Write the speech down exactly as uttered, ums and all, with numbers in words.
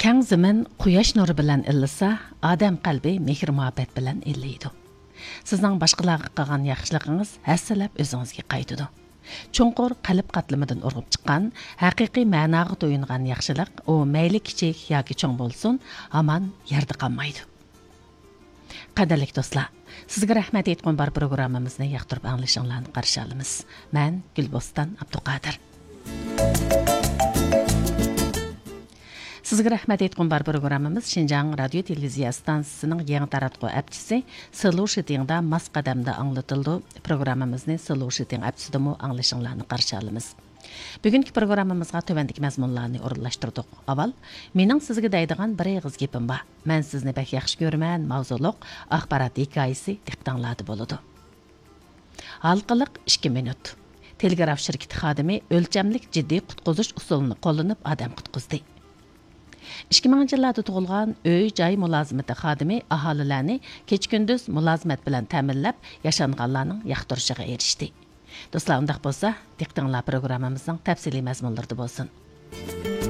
كەڭ زېمىن قۇياش نۇرى بىلەن ئىللىسا، ئادەم قەلبى مېھىر-مۇھەببەت بىلەن ئىللىيدۇ. سىزنىڭ باشقىلارغا قىلغان ياخشىلىقىڭىز ھەسسىلەپ ئۆزىڭىزگە قايتىدۇ. چوڭقۇر قەلب قاتلىمىدىن ئۇرغۇپ چىققان، ھەقىقىي مەناغا تويۇنغان ياخشىلىق، ئۇ مەيلى كىچىك ياكى چوڭ بولسۇن، ھامان يەردە قالمايدۇ. قەدىرلىك دوستلار، سىزگە رەھمەت ئېيتقۇم بار پروگراممىمىزنى ياقتۇرۇپ ئاڭلىشىڭلارنى قارشى ئالىمىز. مەن گۈلبوستان ئابدۇقادىر. سىزگە رەھمەت ئېيتقۇم بار پروگراممىمىز شىنجاڭ رادىيو تېلېۋىزىيە ئىستانسىسىنىڭ يېڭى تاراتقۇ ئەپچىسى سىلۇ شىتىڭدا ماس قەدەمدە ئاڭلىتىلىدۇ. پروگراممىمىزنى سىلۇ شىتىڭ ئەپچىسىدىمۇ ئاڭلىشىڭلارنى قارشى ئالىمىز. بۈگۈنكى پروگراممىمىزغا تۆۋەندىكى مەزمۇنلارنى ئورۇنلاشتۇردۇق. ئاۋۋال، مېنىڭ سىزگە دەيدىغان بىر ئېغىز گېپىم بار. مەن سىزنى بەك ياخشى كۆرىمەن ماۋزۇلۇق ئاخبارات ھېكايىسى دىققىتىڭلاردا بولىدۇ. ھالقىلىق ئىككى مىنۇت. تېلېگراف شىركىتى خادىمى ئۆلچەملىك جىددىي قۇتقۇزۇش ئۇسۇلىنى قوللىنىپ ئادەم قۇتقۇزدى. ئىككى مىڭىنچى يىللاردا تۇغۇلغان ئۆي جاي مۇلازىمىتى خادىمى ئاھالىلەرنى كېچە كۈندۈز مۇلازىمەت بىلەن تەمىنلەپ، ياشانغانلارنىڭ ياقتۇرۇشىغا ئېرىشتى. دوستلار، ئۇنداق بولسا، دىققىتىڭلار پروگراممىمىزنىڭ تەپسىلىي مەزمۇنلىرىدا بولسۇن.